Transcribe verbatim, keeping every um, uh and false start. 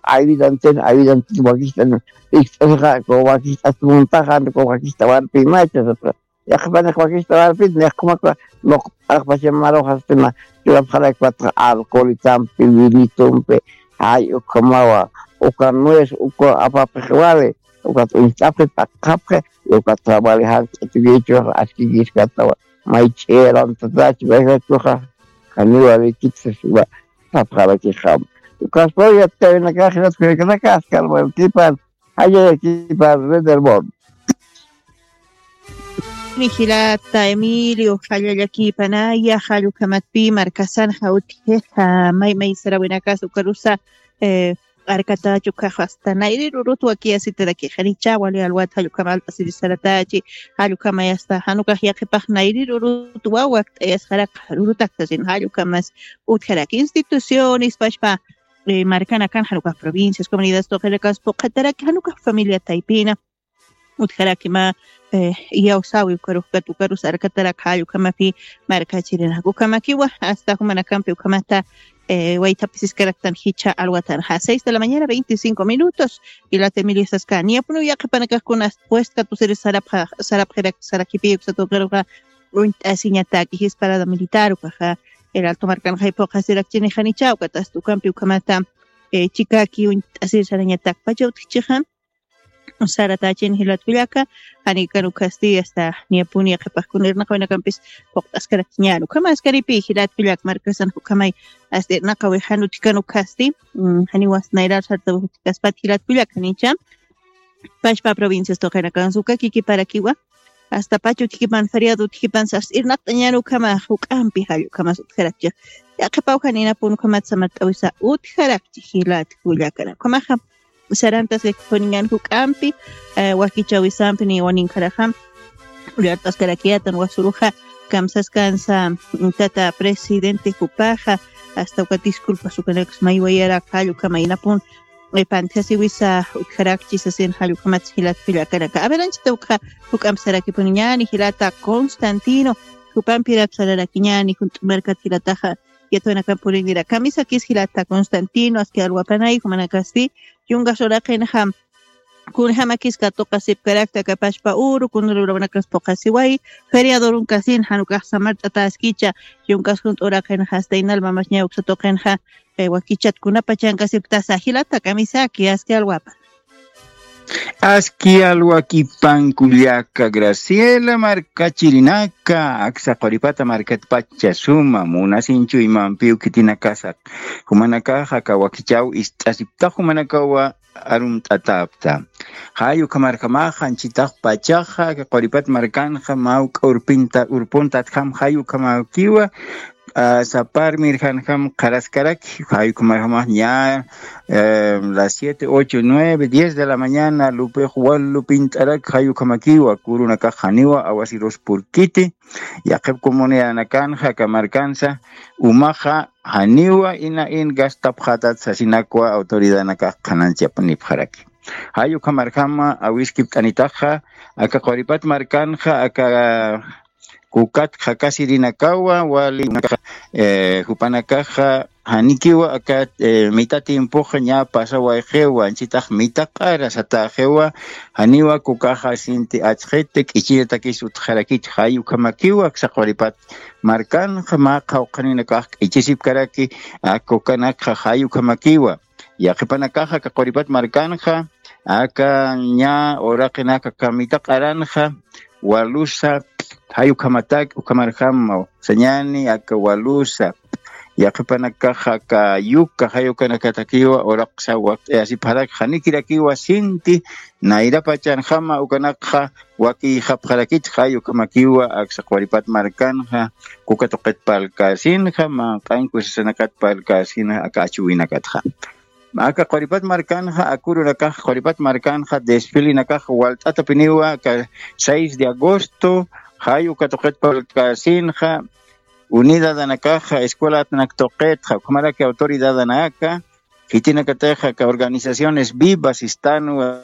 Aywidantin aywidantin wakist'an ikt'asiqa, ku wakist'as muntaxan ku wakista warpi macha sapra. Yaqpanix wakista warpit nixkumakwa nuqt'aqpachamaruxastima. Churapxarakpatxa alcoholitampi vinitumpi, ay ukhamawa uka nuez uka apapxi wali. Ukat uñt'apxi p'aqapxi. Ukat wali jant'atukichux askikiskatawa. May ch'irantatachi mayjachuxa. Janiwa likitsa sima sapxarakixam. Ukaspaw yattawinakax yatkunakanaka askalwakipan. Jallallakipan rederbon. Jilata Emilio, jallallakipanaya jallukhamatpi markasan jawtjixa may may sarawinakas ukarusa. Arkatachu kaxasta nayrirurut wakiyasitarakixanicha wali alwat jallukhamal t'asirisaratachi. Jallukhamayasta janukax yaqhipax nayrirurut wawakt'ayasxarak rurutaktasin jallukhamas utjarak instituciones pashpa. Markanakan janukax provincias comunidades tuqinakas puqhataraki janukax familia taypina utjaraki ma iyawsawi ukarux katukarus arkatarak jallukamapi. Markachirinaku ukamakiwa asta jumanakampi ukamata. Waytapisiskaraktan jicha alwatanxa seis de la mañana veinticinco minutos. Ilata emilio saskani apunu yaqapanakakuna puesta tusiri sarapxa sarapxirak sarakipi uksatukaruxa. Uñt'asiñataki jisparada militar ukaxa el alto markanxa ipuqasirakchini janicha ukatasta ukampi ukamata. Chikaki uñt'asiri sarañatak pacha utjichixa. Saratachin jilatkullaka. Janikan ukasti asta niyapuni yaqipaqkuna irnaqawinakampis puqt'askarakchiñan ukhama askaripi jilatkullak markasan ukhamay. Asta irnaqawi jan utjikan ukasti janiwas nayrar sarta utjikaspat jilatkullak janicha. Pashpa provincias tuqinakan suka kikiparakiwa. Asta pacha utjikipan feriado utjikipan sas irnaqt'añan ukhama juk'ampi jall ukhamas utjarakchix. Yaqhipaw janinapun ukhamat samart'awisa utjarakchix jilatkullakana ukhamaxa. Sarantas jikipuniñan juk'ampi wakichawisampi niwaninkharaxa. Uyart'askarakiyatan wasuruxa kamsaskansa tata presidente jupaxa. Asta uka disculpas ukanakas maywayarak jall ukhama inapun. Pantjasiwisa utjarakchi sasin jall ukhamatsa jilatkullakanaka averanchita ukxa. Juk'ampi sarakipuniñani jilata constantino. Jupampirak sararakiñani junt'u markat jilataxa. Yatwanakan purinira kamisakis jilata constantino aski alwapanay jumanakasti. Yungas uraqinxa kunjamakis katuqasipkarakta kapashpa uru kunrurawnakaspuqasiway. Feriadorunkasin janukax samart'ataskicha. Yungas junt'u uraqinxa asta inalmamasña uksatuqinxa. Wakichatkunapa chankasipktasa jilata kamisaki aski alwapa. Aski alwakipankullaka graciela markachirinaka aksa quripata markatpacha suma munasinchuymampiw khitinakasaq. Jumanakaxa kawakichaw ist'asiptax jumanakawa arumt'atapta. Jay ukhamarjamaxa anchitax pachaxa quripat markanxa mawk'a urpinta urpuntatjam jay ukhamakiwa. Saparmir janjam qharaskaraki jay ukhamarjamax ña las siete ocho nueve diez de la mañana lupix wal lupint'araki jay ukhamakiwa kurunakax janiwa awasirus purkiti. Yaqhip comunidadnakanxa aka markansa umaxa janiwa ina in gastapxatat sasinakwa autoridadnakax qhananchapunipxaraki. Jay ukhamarjama awiskipt'anitaxa aka quripat markanxa aka kukat qhakasirinakawa wali jupanakaxa janikiwa aka mita tiempoxa ña pasawayxiwa anchitax mita q'ara sataxiwa. Janiwa kukaxa sinti achxiti k'ichiritakis utxarakich jay ukhamakiwa aksa quripat markanxa mä qhawqhaninakax k'ichisipkaraki. Aka ukanakxa jay ukhamakiwa yaqhipanakaxa aka quripat markanxa aka ña uraqinaka aka mita q'aranxa walusa jay ukhamatak ukhamarjama sañani aka walusa yaqhipanakaxa aka yuka jay ukanakatakiwa uraqsa wakt'ayasipxarak janikirakiwa sinti nayrapachanjama ukanakxa wakiyxapxarakit jay ukhamakiwa aksa quripat markanxa kuka tuqit parlkäsinxa manq'anku sasanakat parlkäsinxa aka achuwinakatxa. Aka quripat markanxa akurunakax quripat markanxa desfilinakax walt'atapiniwa aka seis de agosto jay uka tuqit parlkäsinxa unidadanakaxa escuelatnak tuqitxa ukhamaraki autoridadanaka khitinakatixa aka organizaciones vivas estanwa.